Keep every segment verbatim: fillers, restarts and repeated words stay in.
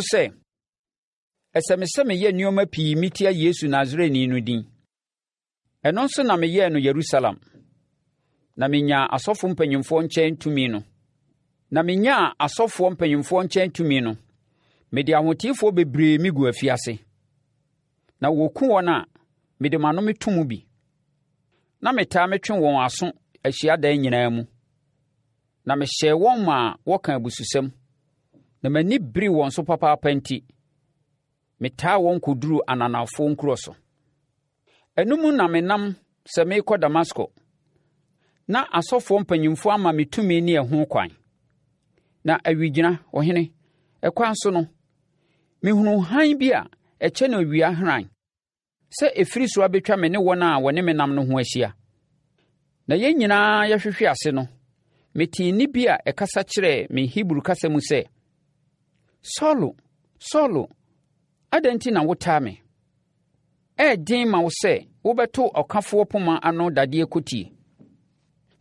sɛ, ɛsɛ me sɛ meyɛ nneɛma pii metia Yesu Nasareni no din. Ɛno nso na meyɛɛ no Yerusalem. Na menyaa asɔfo mpanimfoɔ nkyɛn tumi no, na menyaa asɔfoɔ mpanimfoɔ nkyɛn tumi no, mede ahoteefoɔ bebree megu afiase. Na wɔku wɔn a, mede m'ano meto mu bi. Na metaa metwe wɔn aso ahyiadan nyinaa mu. Na mehyɛɛ wɔn maa wɔka abususɛm, na m'ani beree wɔn so papaapa nti, metaa wɔn kɔduruu ananafoɔ nkuro so. Ɛno mu na menam sɛ merekɔ Damasko, na asɔfoɔ mpanyimfoɔ ama me tumi ne ɛho kwan. Na awigyina, ɔhene, ɛkwan so no, mehunuu hann bi a ɛkyɛne owia hran sɛ ɛfiri soro abɛtwa me ne wɔn a wɔne me nam no ho ahyia. Na yɛn nyinaa yɛhwehwe ase no, metee nne bi a ɛkasa kyerɛɛ me Hebri kasa mu sɛ, Saulo, Saulo, adɛn nti na wotaa me? Ɛyɛ den ma wo sɛ wobɛto ɔkafoɔ poma ano dadeɛ kotie.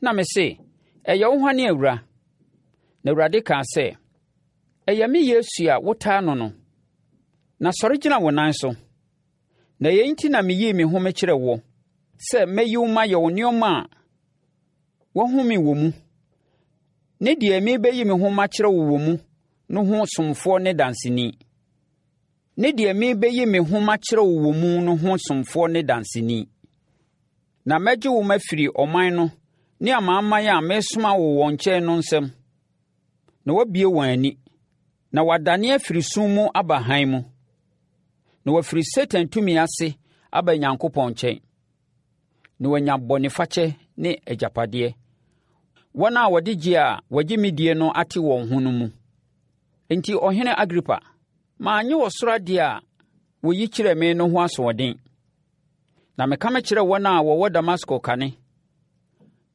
Na mese, Ɛyɛ wo hwane, Awura? Na Awurade kaa sɛ, Ɛyɛ me Yesu a wotaa no no. Na sɔre gyina wo nan so. Na yei nti na meyii me ho mekyerɛɛ woɔ, sɛ mɛyi wo mayɛ wo nneɛma a woahu me wɔ mu, ne deɛ merebɛyi me ho makyerɛ wo wɔ mu no ho somfoɔ ne danseni. Ne deɛ merebɛyi me ho makyerɛ wo wɔ mu no ho somfoɔ ne danseni. Na mɛgye wo mafiri ɔman no ne amanaman a meresoma wo wɔn nkyɛn no nsam, na woabue wɔn ani, na wɔadane afiri sum mu aba hann mu, na wɔafiri Satan tumi ase aba Nyankopɔn nkyɛn, na wɔanya bɔnefakyɛ ne agyapadeɛ, wɔn a wɔde gye a wɔgye me die no ate wɔn ho no mu. Enti Ɔhene Agripa, mannye ɔsoro adeɛ a wɔyi kyerɛɛ me no ho asoɔden. Na meka mekyerɛɛ wɔn a wɔwɔ Damasko kane,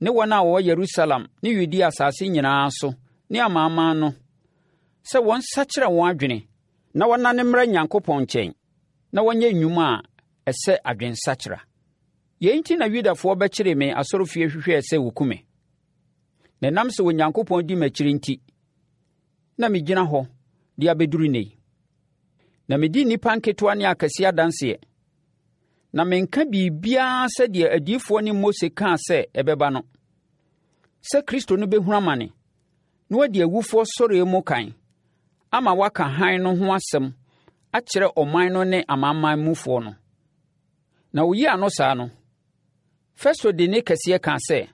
ne wɔn a wɔwɔ Yerusalem ne Yudea asase nyinaa so ne amanaman no, sɛ wɔnsakyera wɔn adwene na wɔnnane mmra Nyankopɔn nkyɛn, na wɔnyɛ nnwuma a ɛsɛ adwensakyera. Yei nti na Yudafoɔ bɛkyeree me asɔrefie hwehwɛɛ sɛ wɔku me. Na ɛnam sɛ Onyankopɔn di m'akyiri nti, na megyina hɔ de abɛduru nnɛ yi. Na medi nnipa nketewa ne akɛseɛ adanseɛ, na menka biribiara sɛdeɛ adiyifoɔ ne Mose kaa sɛ ɛbɛba no, sɛ Kristo no bɛhunu amane, na wadi awufoɔ sɔreɛ mu kan, ama waka hann no ho asɛm akyerɛ ɔman no ne amanaman mufoɔ no. Na oyii ano saa no, Festo de nne kɛseɛ kaa sɛ,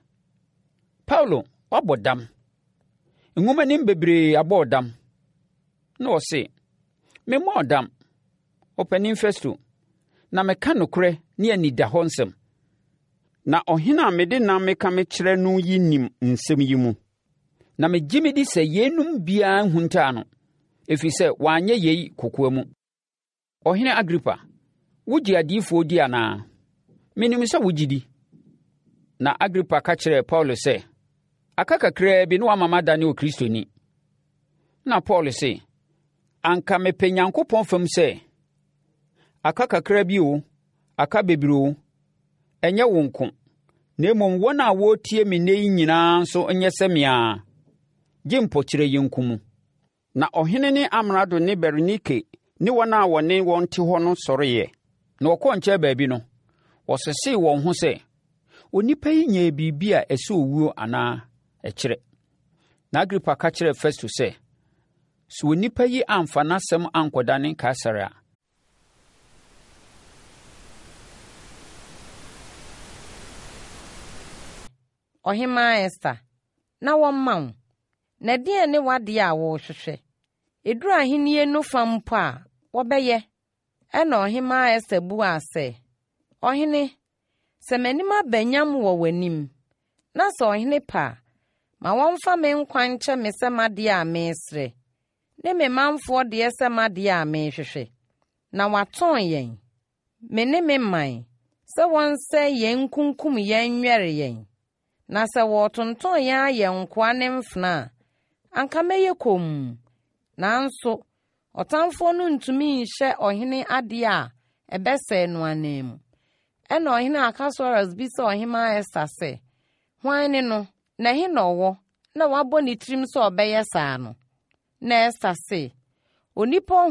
Paulo, woabɔ dam. Nwomanim bebree abɔ wo dam. Na ɔse, Memmɔɔ dam, Ɔpanin Festo, na meka nokorɛ ne anidahɔ nsɛm. Na ɔhene a mede nnam meka mekyerɛ no yi nim nsɛm yi mu. Na megye medi sɛ yeinom biara nhuntaa no, ɛfiri sɛ wanyɛ yei kokoa mu. Ɔhene Agripa, wogye adiyifoɔ di anaa? Menim sɛ wogye di. Na Agripa ka kyerɛɛ Paulo sɛ, Aka kakraa bi na woama madane Okristoni. Na Paulo se, Anka mepɛ Nyankopɔn fam sɛ, aka kakra bi o, aka bebree o, ɛnyɛ wo nko, na mmom wɔn a wɔretie me nnɛ yi nyinaa nso nyɛ sɛ me ara, gye mpokyerɛ yi nko mu. Na ɔhene ne amrado ne Berenike ne wɔn a wɔne wɔn te hɔ no sɔreeɛ, na wɔkɔɔ nkyɛn baabi no, wɔsesee wɔn ho sɛ, Onipa yi nyɛɛ biribi a ɛsɛ owuo anaa ɛkyerɛ. Na Agripa ka kyerɛɛ Festo sɛ, Sɛ onipa yi amfa n'asɛm ankɔdane Kaesare a, Ɔhemmaa Ester, na wɔmma wo. Na ɛdeɛn ne w'adeɛ a worehwehwɛ? Ɛduru ahennie no fa mpo a, wɔbɛyɛ. Ɛnna Ɔhemmaa Ester buaa sɛ, Ɔhene, sɛ m'anim aba nyam wɔ w'anim, na sɛ ɔhene pɛ a, ma wɔmfa me nkwa nkyɛ me sɛ m'adeɛ a meresrɛ, ne me manfoɔ deɛ sɛ m'adeɛ a merehwehwɛ. Na wɔatɔn yɛn, me ne me man, sɛ wɔnsɛe yɛn nkunkum yɛn nwɛre yɛn. Na sɛ wɔretontɔn yɛn ayɛ nkoa ne mfenaa a, anka mɛyɛ komm. Nanso ɔtamfoɔ no ntumi nhyɛ ɔhene adeɛ a ɛbɛsɛe no ananmu. Ɛnna ɔhene Akas-weros bisaa ɔhemmaa Ester sɛ, Hwan ne no, na ɛhe na ɔwɔ, na wabɔ ne tirim sɛ ɔbɛyɛ saa no? Na Ester se, Onipa